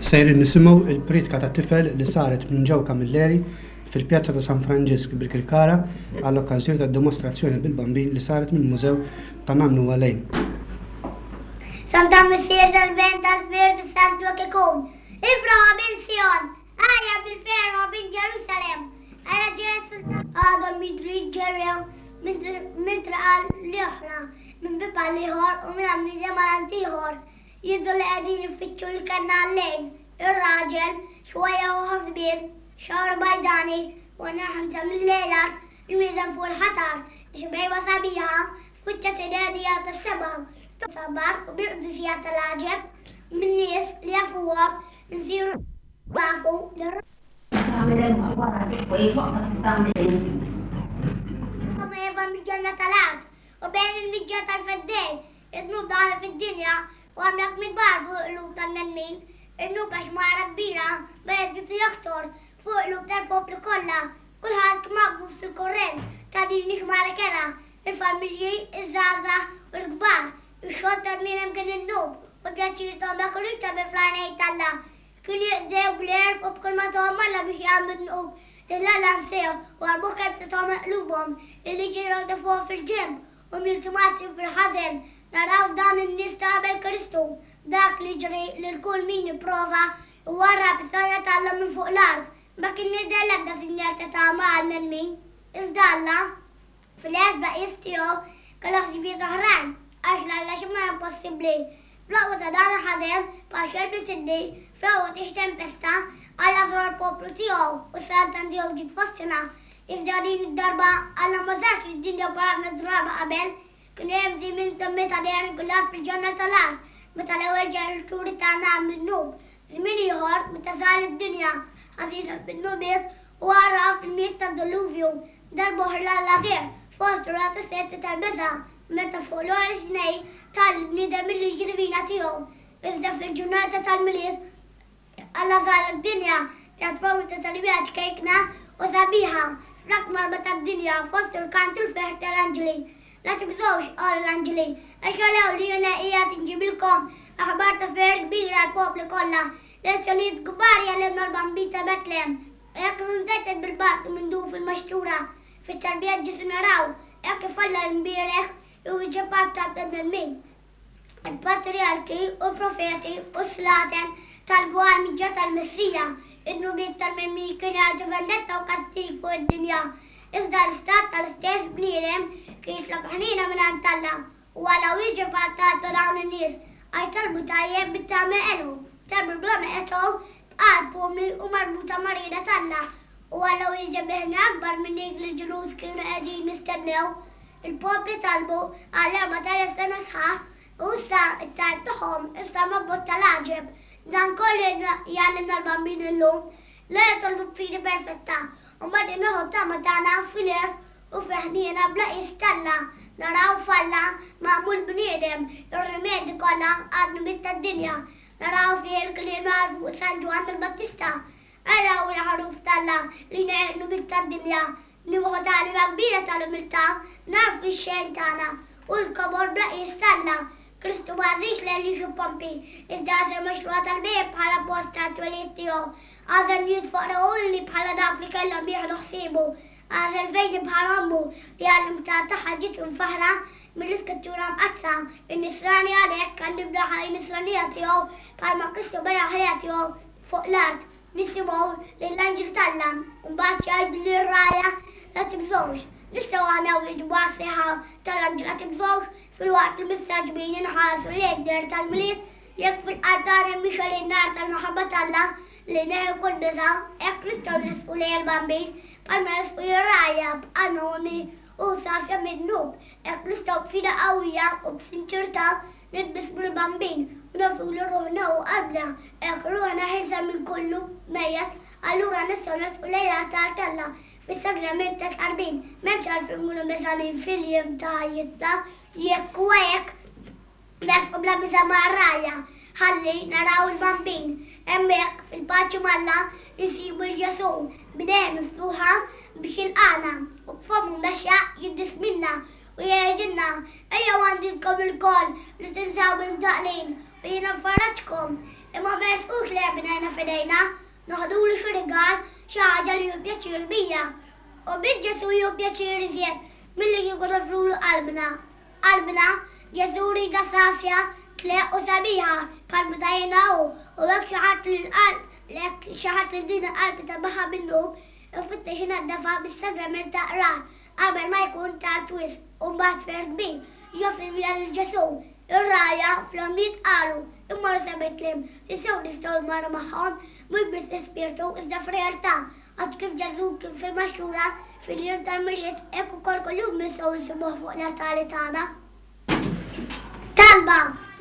Sejrin nisimgħu il-priedka ta' tifel li saret minn Joe Camilleri fil-Pjazza ta' San Franġisk Birkirkara għall-okkażjoni tad-dimostrazzjoni bil-Bambin li saret mill-Mużew ta' Nannu Għalejn. Santa Missier tal-Ben tal-Spirtu Santu hekk ikun. Ifraħ bin Sion, għajja bil-ferħ bin Ġerusalem. Ara ġej għadhom jidhru jiġġerrew minn triq għal l-oħra, minn bieb għal ieħor u minn għammiedem għal għand ieħor. Jidhru li qegħdin ifittxu l-kenn għal-lejl. Ir-raġel, xwejjaħ u ħosbien, xagħru bajdani, u għenna ħamsa mil-lejlat, imnieżen fuq il-ħatar, xbejba sabiħa, f'wiċċha tidher dija tas-sema, sabar u bil-qdusija tal-għaġeb, min-nies li jafuhom insiru nafu li Eva mill-ġenna tal-art u bejn il-miġja tal-Feddej, id-dnub daħal fid-dinja u għamel kbar fuq il-qlub tal-bnedmin. Id-dnub għax mara kbira beda jżid u joktor fuq il-qlub tal-popli kollha. Kulħadd kien maqbud fil-kurrent ta' din ix-xmara kerha, il-familji, iż-żgħażagħ u l-kbar. Ix-xogħol tal-bniedem kien id-dnub u l-pjaċir tagħhom ma kinux tajbin fl-għajnejn t'Alla. Kienu jiqdew bl-għerf u b'kull ma tahom Alla biex jagħmlu dnub, lil Alla nsewh u għarrbuh kemm setgħu minn qlubhom. Il-liġi ragħfuhom fil-ġenb u mliltu fil-ħażen. Naraw f'dan in-nies ta' qabel Kristu dak li jiġri lil kull min jipprova jwarrab is-saltna t'Alla minn fuq l-art. Ma kien jidher l-ebda sinjal ta' tama għall-bnedmin. Iżda Alla, Fl-għerf bla qies tiegħu kellu ħsibijiet oħrajn, għax 'l Alla xi ma impossibbli. Fl-aqwa ta' dan il-ħażen, bħal xelb li tiddi, fl-aqwa ta' xi tempesta, Alla żar il-poplu tiegħu u s-saltna tiegħu ġiet fostna. Iżda din id-darba Alla ma żarx lid-dinja bħal ħafna drabi qabel. Kien hemm żmien ta' meta deher kulħadd fil-ġenna tal-art, meta l-ewwel ġenituri tagħna għamlu dnub. Żmien ieħor meta żar id-dinja ħażina bid-dnubiet u għarraf il-miet tad-Dilluvju. Darba oħra Alla deher fost ragħat u setti tal-biża' meta fuq l-għoli Sinaj ta lill-bniedem il-liġi divina tiegħu. Iżda fil-ġurnata tal-Milied, Alla żar id-dinja pjattaforma ta' tarbija ċkejkna u sabiħa fl-akbar tad-dinja fost il-kant u l-ferħ tal-anġli. La tibżgħux, qalu l-anġli, għax araw li jiena qiegħed inġibilkom aħbar ta' ferħ kbir għall-popli kollha. Lezzjonijiet kbar jgħallimna l-Bambin ta' Betlehem. Hekk kif imtettet bil-barq u minduf fil-maxtura, fit-tarbija Ġesù naraw, hekk kif Alla l-Imbierek iwieġeb għat-talb tal-bnedmin. Il-patrijarki u l-profeti u s-slaten talbu għall-miġja tal-Messija. Id-dnubiet tal-bnedmin kienu jagħtu vendetta u kastig fuq id-dinja. Iżda l-istat tal-istess bniedem kien jitlob ħniena mingħand Alla. U Alla wieġeb għat-talb ta' dawn in-nies, għax talbu tajjeb bit-tama għelhom, talbu bla ma qetgħu, b'qalb umli u marbuta mar-rieda t'Alla. U Alla wieġeb bi ħniena akbar minn dik li l-ġnus kienu qegħdin jistennew. Il-popli talbu għal 4000 sena sħaħ, u issa t-talb tagħhom instama' b'mod tal-għaġeb. Dan kollu jgħallimna l-Bambin illum. La nitolbu b'fidi perfetta, u mbagħad inneħħu t-tama tagħna fil-għerf u fil-ħniena bla qies t'Alla. Naraw f'Alla, magħmul bniedem, ir-rimedji kollha għad-dnubiet tad-dinja. Naraw fih il-kliem li fuq San Ġwann il-Battista, Araw il-Ħaruf t'Alla li jneħħi d-dnubiet tad-dinja. Nieħu tagħlima kbira tal-umiltà, nagħrfu x-xejn tagħna u l-kobor bla qies t'Alla. Kristu ma għażilx l-għeliex u pompi, iżda għażel mixruha tal-bhejjem bħala post tat-twelid tiegħu. Għażel nies foqra u umli bħala dawk li kellhom jieħdu ħsiebu. Għażel fejdi bħal ommu, li għall-umiltà tagħha ġiet imfaħħra mill-Iskrittura Mqaddsa. In-Nisrani għalhekk għandu jibda l-ħajja Nisranija tiegħu bħalma Kristu bena l-ħajja tiegħu fuq l-art. Nisimgħu lill-anġli t'Alla u mbagħad jgħidu lir-rgħajja la tibżgħux. Nistgħu aħna nwieġbu għas-sejħa tal-anġli la tibżgħux filwaqt li mistagħġbin inħarsu lejn id-deher tal-Milied? Jekk fil-qalb tagħna hemm mixgħel in-nar tal-maħabba t'Alla li jneħħi kull biża', hekk nistgħu nresqu lejn il-Bambin bħalma resqu lir-rgħajja b'qalbna umli u safja mid-dnub. Hekk nistgħu b'fidi qawwija u b'sinċerità nitbissmu l-Bambin u nofrulu ruħna u qalbna. Hekk ruħna ħielsa minn kullu mejjet, allura nistgħu nersqu lejn l-altar t'Alla fis-sagrament tat-tqarbin. M'hemmx għalfejn nkunu beżgħanin fil-jiem ta' ħajjitna. Jekk huwa hekk, nersqu bla biża' mar-rgħajja ħalli naraw il-Bambin. Hemmhekk, fil-paċi m'Alla, insibu 'l Ġesù, b'idejh miftuħa biex jilqagħna u b'fommu mexxaq jiddisminna U jgħidilna, Ejjew għandi intkom ilkoll li tinsabu imtaqqlin, u jiena nfarraġkom. Imma ma jersqux. Mhux li bnejna f'idejna, noħdulu xi rigal, xi ħaġa li jieħu pjaċir bija. U biex Ġesù jieħu pjaċir iżjed milli kieku noffrulu qalbna. Qalbna, Ġesù jridha safja, tleqq u sabiħa, bħal meta jiena hu, u hekk xi ħadd li l-qalb, hekk xi ħadd li din il-qalb itabaħha bid-dnub, ifittex inaddafha bis-sagrament ta' qrar, qabel ma jkun tard wisq, u mbagħad ferħ kbir, joffri l-bija lil Ġesù. Ir-rgħajja fl-għomrijiet qalu, Immorru sa Betlem, tassew nistgħu mmorru magħhom, mhux biss fi spirtu, iżda f'realtà, għax kif Ġesù kien fil-maxtura fil-jum tal-Milied, hekk ukoll kuljum nistgħu nsibuh fuq l-artali tagħna. Talba,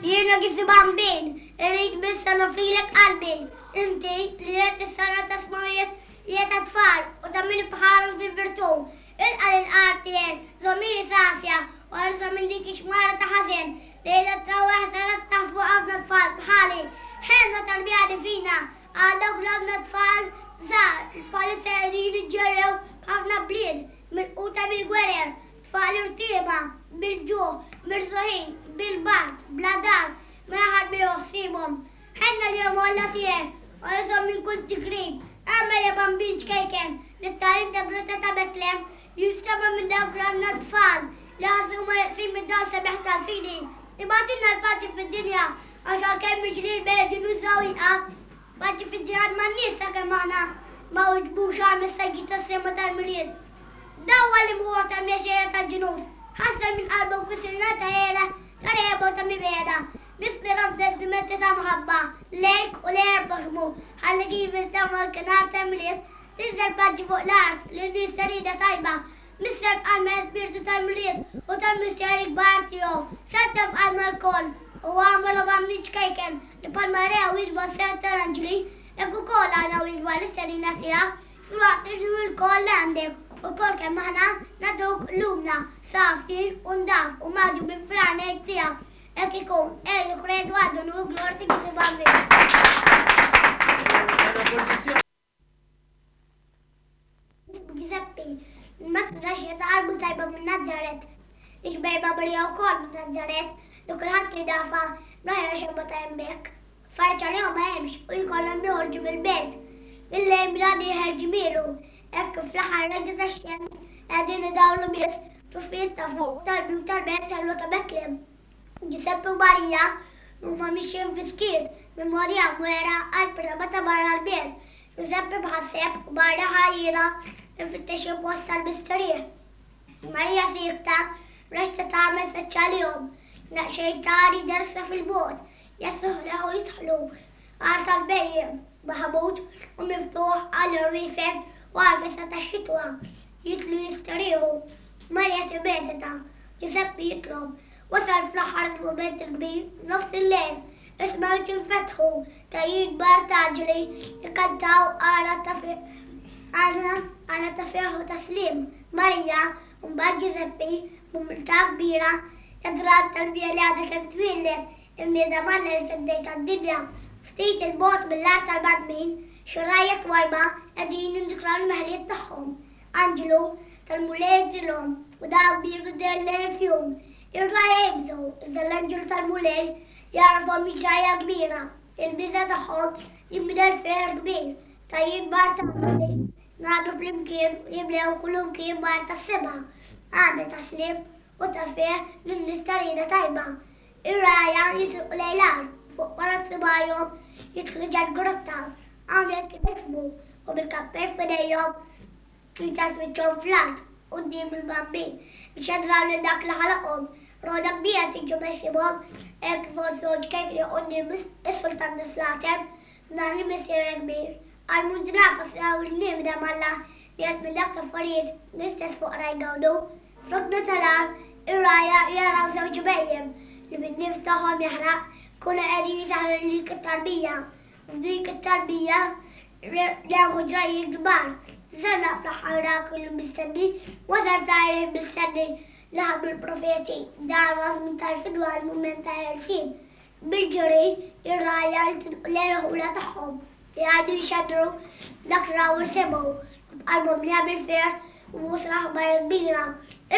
Jiena Ġesù Bambin, irrid biss noffrilek qalbi, inti li qed is-sena ta' smawiet li qed tfal u ta' min bħalhom fil-virtù. Ilqa' lil qalb tiegħi, żommili safja u ħarisha minn dik ix-xmara ta' ħażen li qiegħda trawwaħ tarattaħ fuq ħafna tfal bħali. Ħenna tarbija divina għal dawk l-ħafna tfal żgħar, it-tfal li se qegħdin jiġġerrew b'ħafna bliet, milquta mill-gwerer, tfal irtiema, bil-ġuħ, mirżuħin, bil-bard, bla dar, mingħajr ħadd ma jieħu ħsiebhom. Ħenna lilhom o Alla tiegħi, u ħarishom minn kull tigrib. Agħmel ja Bambin ċkejken li t-tagħlim ta' Grotta ta' Betlem jinstema' minn dawk l-għandna tfal li ħassu huma neqsin mid-dawl sabiħ tal-fidi. Ibgħatilna l-paċi fid-dinja għax għalkemm il-ġlied bejn il-ġnus hawn jieqaf, paċi fid-ġirien man-nies sakemm aħna ma wiġbux għall-messaġġi tas-sema tal-Milied. Dawwal l-imħuħ tal-mexxejja tal-ġnus, ħassar minn qalbhom kull silna ta' għira, ta' regħba u ta' mibegħda. Niftirhom b'sentimenti ta' mħabba lejk u lejn il-proxxmu, ħalli kif iltaqgħu dakinhar tal-Milied, tinżel paċi fuq l-art lin-nies ta' rieda tajba. Missier f'qalbna l-Ispirtu tal-Milied u tal-misteri kbar tiegħu. Saltan f'qalbna lkoll u agħmel o Bambin ċkejken li bħalma rew jitfa' s-sehem tal-anġli, hekk ukoll aħna wieġba l-istedina tiegħek filwaqt li nġibu lkoll li għandek u lkoll kemm aħna nagħtuk qlubna safjin u ndaf u magħġubin fl-għajnejn tiegħek. Hekk ikun, Ejju, kredu għad unur glorti kif ibambin. Giuseppe, il-maskra xi ta' qalbu tajba minn Nazaret. Ix-xbejba Marija wkoll minn Nazaret, li kulħadd kien jafha, mingħajr xebba ta' hemmhekk. Faraġ għalihom ma hemmx u jkollhom joħorġu mill-belt. Bil-lejl bla dieħel ġmielu, hekk kif fl-aħħar raggi tax-xemx qegħdin idawlu biss truffijiet ta' fuq tal-bwieb tal-belt tal ta' Betlem. Ġużeppi u Marija huma mixjin fis-skiet minn Morja Mwera għall-prama ta' barra l-belt. Ġużeppi mħasseb u Marija ħajjira ifittex xi post tal-mistrieħ. Marija siekta rexta tagħmel feċċa għalihom. Daqsxejn tari dersa fil-bogħod, jaslu ħdejh u jidħlu. Għar tal-bhejjem, maħmud u miftuħ għall-irwiefen u għall-kesha tax-xitwa. Jidħlu jistrieħu. Marija timmedita. Ġużeppi jitlob. Wasal fl-aħħar il-mument il-kbir, nofs il-lejl. Is-smewġ infetħu, tgħajjir kbar ta' anġli jkantaw għana ta' għana ta' ferħ u ta' sliem. Marija, u mbagħad Ġużeppi, b'umiltà kbira, jadraw it-tarbija li għadha kemm twieldet, il-Mieda m'Alla il-Feddej tad-dinja. Ftit 'il bogħod mill-art tal-bnedmin, xi rgħajja twajba qegħdin jindukraw l-meħliet tagħhom. Anġlu tal-Mulej jidhrilhom, u dawl kbir jidher lejn fihom. Ir-rgħajja jibżgħu, iżda l-anġlu tal-Mulej jagħrafhom hi ġrajja kbira. Il-biża' tagħhom jinbidel f'ferħ kbir. Tgħajjir kbar ta' anġli ngħaqdu flimkien u jimlew kullimkien b'art tas-sema, għanja ta' sliem u ta' ferħ lin-nies ta' rieda tajba. Ir-rgħajja jitilqu lejn l-għar, fuq ponot subgħajhom jidħlu ġal-grotta. Hawnhekk jifhmu u bil-kappell f'idejhom jitgħatu wiċċhom fl-art quddiem il-Bambin biex jadraw lil dak li ħalaqhom. Roda kbira tiġi meħsibhom hekk kif għożżu ċkejkni quddiem is-Sultan tas-Slaten, dan il-Missier kbir. Għal naf raw il-niebda m'Alla li qed minn dak l-affarijiet l-istess foqra jgawdu. Fl-għodna tal-għar, ir-rgħajja jaraw żewġ bhejjem li bin-nifs tagħhom jaħraq kienu qegħdin jisaħħru lil dik it-tarbija. U f'dik it-tarbija rew ġrajjiet kbar. Żarna fl-aħħar dak li mistenni, wasal fl-aħħar il mistenni li ħabbru l-profeti, dan huwa żmien tal-fidwa, il-mument tal-ħelsien. Bil-ġuri, ir-rgħajja jitilqu lejn il-ħula tagħhom, jgħidu jxandru dak li raw u semgħu, u b'qalbhom mlija bil-ferħ u waslu aħbar kbira.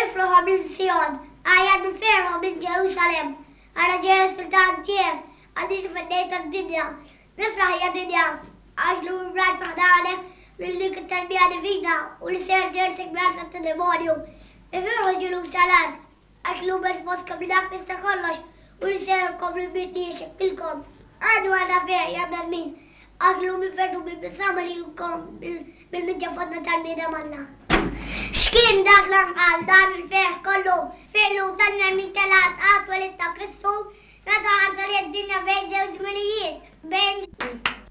Ifraħ o bint Sijon, għajjat bil-ferħ o bint Ġerusalemm, ara ġej is-sultan tiegħek, għażiż u feddej tad-dinja. Nifraħ ja dinja, għax llum rajt fi ħdanek lil dik it-tarbija divina u li ser ġertek bl-art tat-demonju. Ifirħu ġilus tal-art, għax llum qed fostkom li dak li sta kollox u li ser jkompli l-bniet li jixekkilkom. Għadu għandna ferħ ja bnedmin, għax llum inferdu bil-bizzama li jkom bil-miġja fostna tal-bniedem Alla. X'kien dak l-anqal dan il-ferħ kollu fil-qlub tal-bnedmin tal-art għat-twelid ta' Kristu? Nagħtu ħarsa lejn id-dinja bejn żewġ żminijiet, bejn.